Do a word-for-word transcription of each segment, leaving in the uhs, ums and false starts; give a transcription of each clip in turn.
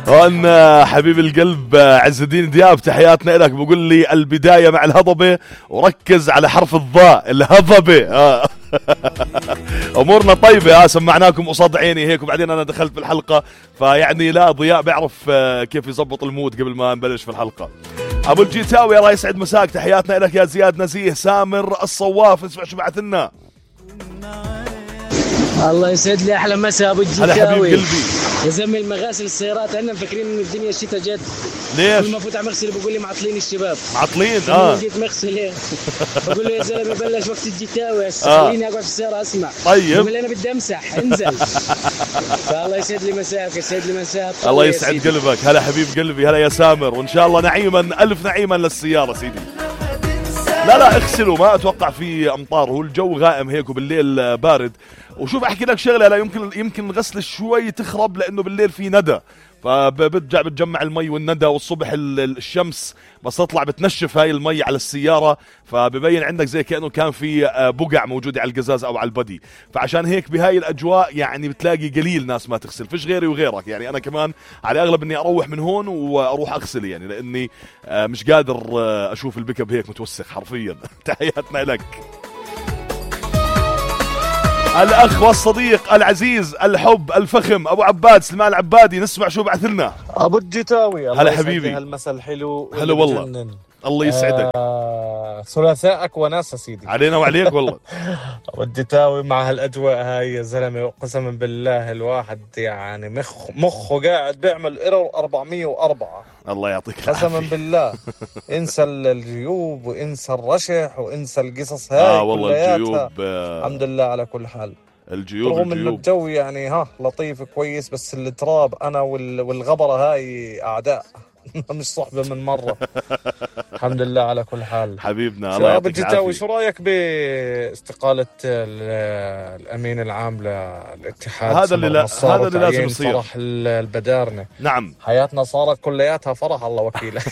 هون حبيب القلب عز الدين دياب تحياتنا لك، بقول لي البداية مع الهضبة وركز على حرف الضاء الهضبة. آه. امورنا طيبة. اه سمعناكم قصاد عيني هيك، وبعدين انا دخلت في الحلقة، فيعني لا ضياء بيعرف كيف يزبط المود قبل ما نبلش في الحلقة. ابو الجيتاوي الله يسعد مساك، تحياتنا لك يا زياد نزيه. سامر الصواف اسمع شو بعث لنا. الله يسعد لي احلى مساء ابو هلا حبيب الجيتاوي قلبي. يا زلمه المغاسل السيارات عندنا مفكرين ان الدنيا الشتاء جد. ليش؟ كل ما فوت على مغسل بقول لي معطلين الشباب. معطلين اه جيت مغسل هيك بقول له يا زلمه بلش وقت الجيتاوي هسه خليني اقعد في السياره اسمع. طيب بقول لي انا بدي امسح انزل. فالله يسعد لي مساك، يسعد لي مساك. الله يسعد قلبك. هلا حبيب قلبي. هلا يا سامر، وان شاء الله نعيما الف نعيما للسياره سيدي. لا لا اغسلوا، ما اتوقع في امطار، هو الجو غائم هيك وبالليل بارد. وشوف احكي لك شغله، لا يمكن يمكن الغسل شوي تخرب لانه بالليل في ندى، فبترجع بتجمع المي والندى، والصبح الشمس بس تطلع بتنشف هاي المي على السيارة، فببين عندك زي كأنه كان في بقع موجودة على القزاز أو على البدي. فعشان هيك بهاي الأجواء يعني بتلاقي قليل ناس ما تغسل، فيش غيري وغيرك. يعني أنا كمان على أغلب إني أروح من هون وأروح أغسل، يعني لأني مش قادر أشوف البكب هيك متوسخ حرفيا. تحياتنا لك الأخ والصديق العزيز الحب الفخم أبو عباد سلمان العبادي. نسمع شو بعث لنا أبو الجيتاوي. هلا حبيبي. هالمسا الحلو. هلا والله. الله يسعدك. آه ثلاثائك وناس سيدي. علينا وعليك والله. أبو الجيتاوي مع هالأجواء هاي يا زلمة، قسما بالله الواحد يعني مخ مخه قاعد بيعمل إيرور أربعمية وأربعة. الله يعطيك العافية. قسما بالله انسى الجيوب وانسى الرشح وانسى القصص هاي. اه والله الجيوب. آه الحمد لله على كل حال. الجيوب رغم انه الجو يعني ها لطيف كويس، بس التراب انا والغبره هاي اعداء. مش صحبه من مره. الحمد لله على كل حال. حبيبنا الله يعطيك العافية. شو رايك باستقاله الامين العام للاتحاد؟ هذا اللي لا هذا اللي لازم يصير. فرح البدارنه. نعم حياتنا صارت كلياتها فرح الله وكيله.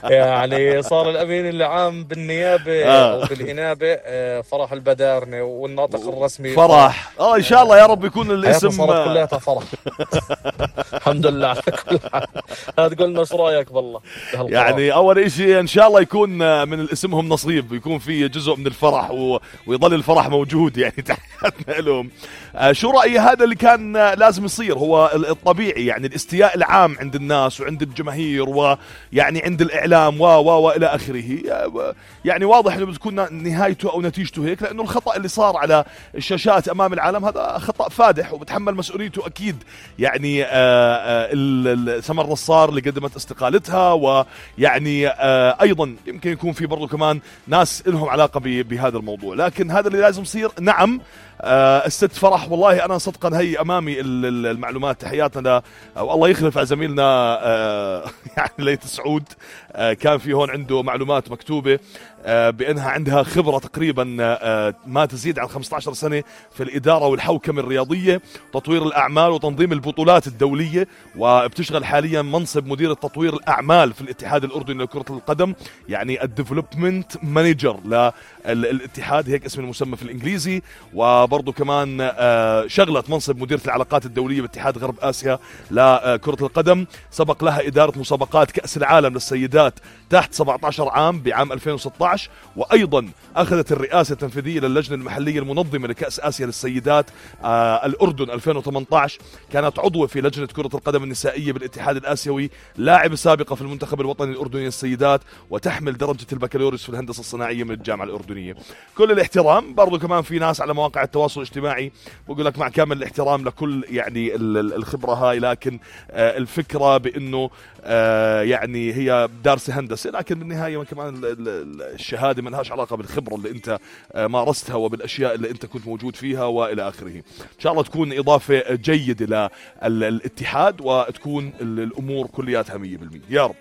يعني صار الامين العام بالنيابه آه. وبالانابه فرح البدارنه، والناطق الرسمي فرح. اه ان شاء الله يا رب يكون الاسم صارت كلياتها فرح. الحمد لله على كل حال. هتقول لنا شو رايك والله؟ يعني اول شيء ان شاء الله يكون من الاسمهم نصيب، يكون في جزء من الفرح و... ويظل الفرح موجود. يعني تحياتنا لهم. آه شو رايي هذا اللي كان لازم يصير، هو الطبيعي يعني الاستياء العام عند الناس وعند الجماهير ويعني عند الاعلام و و والى اخره. يعني واضح انه بتكون نهايته او نتيجته هيك، لانه الخطا اللي صار على الشاشات امام العالم هذا خطا فادح وبتحمل مسؤوليته اكيد. يعني آه آه سمر نصار اللي قدمت استقالتها، ويعني آه ايضا يمكن يكون في برضو كمان ناس لهم علاقه بهذا الموضوع. لكن هذا اللي لازم يصير. نعم آه الست فرح والله انا صدقا هي امامي المعلومات. تحياتنا او الله يخلف على زميلنا آه يعني ليت سعود. آه كان في هون عنده معلومات مكتوبه آه بانها عندها خبره تقريبا آه ما تزيد عن خمسة عشر سنه في الاداره والحوكمه الرياضيه، تطوير الاعمال وتنظيم البطولات الدوليه، وبتشغل حاليا منصب مدير تطوير الاعمال في الاتحاد الاردني لكره القدم، يعني الديفلوبمنت مانجر للاتحاد هيك اسم المسمى في الانجليزي. وبرضه كمان آه شغلت منصب مديرة العلاقات الدولية باتحاد غرب آسيا لكرة القدم. سبق لها إدارة مسابقات كأس العالم للسيدات تحت سبعة عشر عام بعام ألفين وستة عشر، وأيضا أخذت الرئاسة التنفيذية للجنة المحلية المنظمة لكأس آسيا للسيدات آه الأردن ألفين وثمانية عشر. كانت عضوة في لجنة كرة القدم النسائية بالاتحاد الآسيوي، لاعبة سابقة في المنتخب الوطني الأردني للسيدات، وتحمل درجة البكالوريوس في الهندسة الصناعية من الجامعة الأردنية. كل الاحترام. برضو كمان في ناس على مواقع التواصل الاجتماعي بقول لك مع كامل الاحترام لكل يعني الخبرة هاي، لكن آه الفكرة بأنه آه يعني هي دارسة هندسة، لكن بالنهاية كمان الشهادة ما لهاش علاقة بالخبرة اللي انت آه مارستها وبالأشياء اللي انت كنت موجود فيها وإلى آخره. إن شاء الله تكون إضافة جيدة للاتحاد وتكون الأمور كلياتها مية بالمية يا رب.